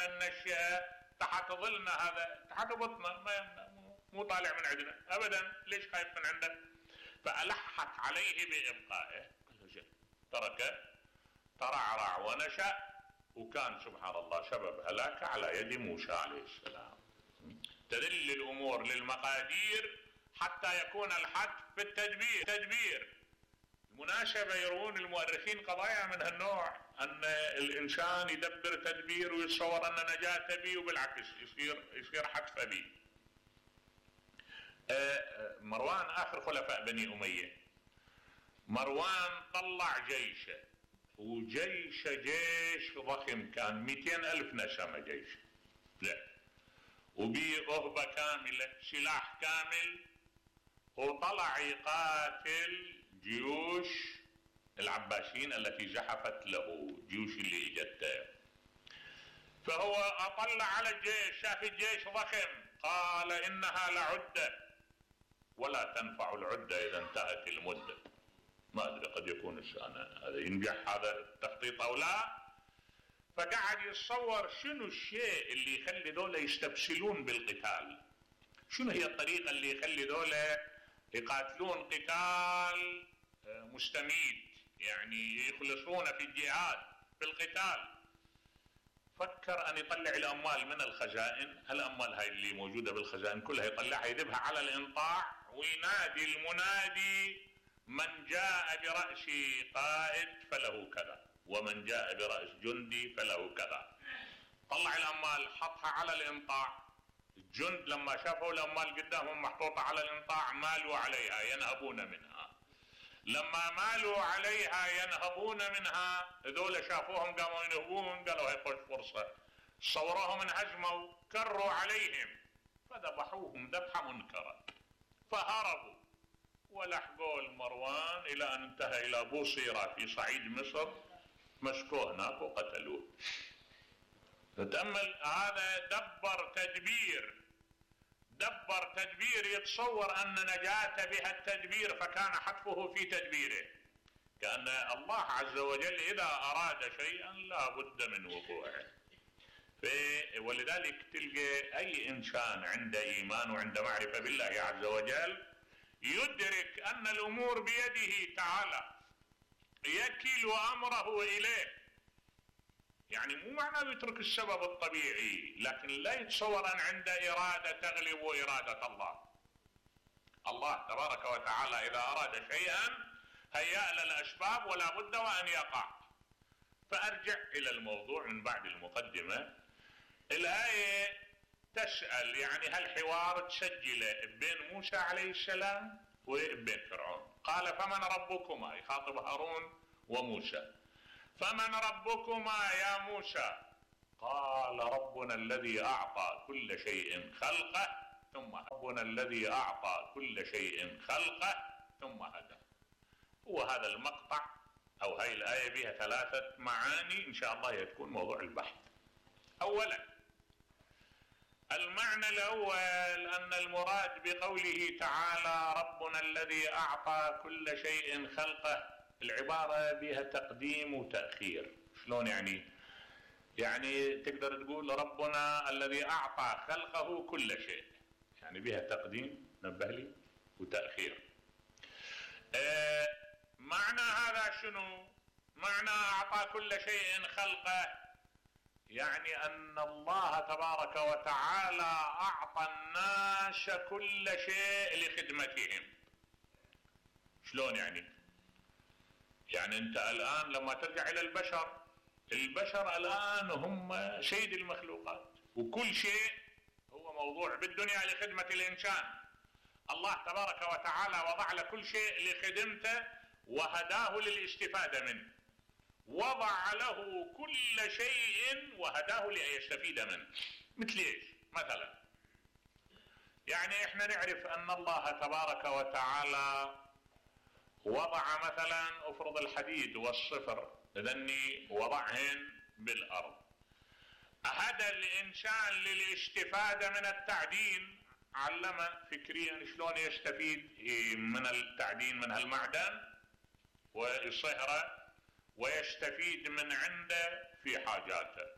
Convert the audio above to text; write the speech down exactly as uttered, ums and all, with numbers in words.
ننشئه تحت ظلنا، هذا تحت بطنه، ما مو طالع من عندنا ابدا، ليش خايف من عنده؟ فألحت عليه بإبقائه، تركه ترعرع ونشأ، وكان سبحان الله سبب هلاكه على يد موسى عليه السلام. تدل الأمور للمقادير حتى يكون الحتف في التدبير. تدبير المناسبة يروون المؤرخين قضايا من هالنوع، أن الإنسان يدبر تدبير ويتصور أن نجاة به، وبالعكس يصير يصير حتف به. مروان آخر خلفاء بني أمية، مروان طلع جيشه، وجيش جيش ضخم، كان مئتين ألف نسمة جيش، لا وبيه رهبة كاملة، سلاح كامل، وطلع يقاتل جيوش العباسيين التي زحفت له، جيوش اللي اجته. فهو اطلع على الجيش، شاف الجيش ضخم، قال انها لعدة ولا تنفع العدة اذا انتهت المدة. ما ادري قد يكون هذا ينجح هذا التخطيط او لا. فقعد يتصور شنو الشيء اللي يخلي دولة يستبسلون بالقتال، شنو هي الطريقة اللي يخلي دولة يقاتلون قتال مستميت، يعني يخلصون في الجهاد في القتال. فكر ان يطلع الاموال من الخزائن، الاموال هاي اللي موجودة بالخزائن كلها يطلعها يذبها على الانطاع، وينادي المنادي من جاء برأس قائد فله كذا، ومن جاء برأس جندي فله كذا. طلع الاموال حطها على الانطاع، الجند لما شافوا الاموال قدامهم محطوطة على الانطاع مالوا عليها ينهبون منها، لما مالوا عليها ينهبون منها هذول شافوهم قاموا ينهبون، قالوا هي خوش فرصة، صوروهم انهزموا، كروا عليهم فذبحوهم ذبحة منكرة، فهربوا ولحقوا المروان الى ان انتهى الى بوصيرة في صعيد مصر، مسكوه هناك وقتلوه. تتأمل، هذا دبر تدبير، دبر تدبير يتصور أن نجاة بها التدبير، فكان حتفه في تدبيره، كأن الله عز وجل إذا أراد شيئا لا بد من وقوعه. ولذلك تلقى أي إنسان عنده إيمان وعنده معرفة بالله عز وجل يدرك أن الأمور بيده تعالى، يكل أمره إليه. يعني مو معناه يترك السبب الطبيعي، لكن لا يتصور أن عنده إرادة تغلب إرادة الله. الله تبارك وتعالى إذا أراد شيئا هيأ له الأسباب ولا بد وأن يقع. فأرجع إلى الموضوع من بعد المقدمة. الآية تسأل يعني هالحوار تسجله بين موسى عليه السلام وبين فرعون. قال فمن ربكما، يخاطب هارون وموسى، فمن ربكما يا موسى؟ قال ربنا الذي أعطى كل شيء خلقه ثم ربنا الذي أعطى كل شيء خلقه ثم هدى. هو هذا المقطع أو هاي الآية بها ثلاثة معاني إن شاء الله يكون موضوع البحث. أولا المعنى الأول أن المراد بقوله تعالى ربنا الذي أعطى كل شيء خلقه، العبارة بها تقديم وتأخير. شلون يعني؟ يعني تقدر تقول ربنا الذي أعطى خلقه كل شيء، يعني بها تقديم نبه لي وتأخير. آه معنى هذا شنو؟ معنى أعطى كل شيء خلقه يعني أن الله تبارك وتعالى أعطى الناس كل شيء لخدمتهم. شلون يعني؟ يعني أنت الآن لما ترجع إلى البشر، البشر الآن هم سيد المخلوقات، وكل شيء هو موضوع بالدنيا لخدمة الإنسان. الله تبارك وتعالى وضع لكل شيء لخدمته وهداه للاستفادة منه، وضع له كل شيء وهداه ليستفيد منه. مثل ايش؟ مثلا يعني احنا نعرف ان الله تبارك وتعالى وضع مثلا افرض الحديد والصفر ذني وضعهن بالارض، هدى الانسان للاستفادة من التعدين، علمه فكريا شلون يستفيد من التعدين من هالمعدن ويصهره ويستفيد من عنده في حاجاته.